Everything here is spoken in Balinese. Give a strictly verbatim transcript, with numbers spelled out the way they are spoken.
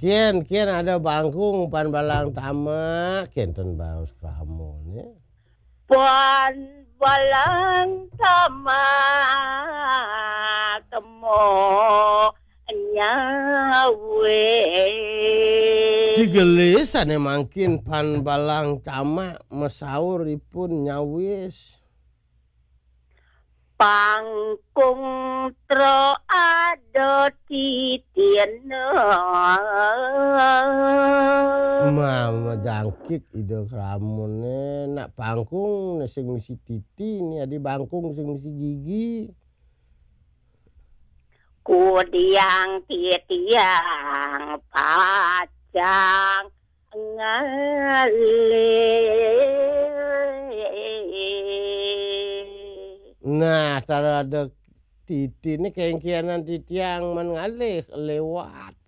Kén, kén ada bangkung pan balang tamak, kénten baos kramon ya. Pan balang tamak mo nyawis. Digelis sané mangkin pan balang tamak masaur ipun nyawis. Pangkung tro ada titin. Mama jangkik ida kramoné nak pangkung sing misi titi ni adi bangkung sing misi gigi. Kudiang titiang pacang ngalih. Nah, tara ada titi ni kengkianan titiang man ngalih lewat.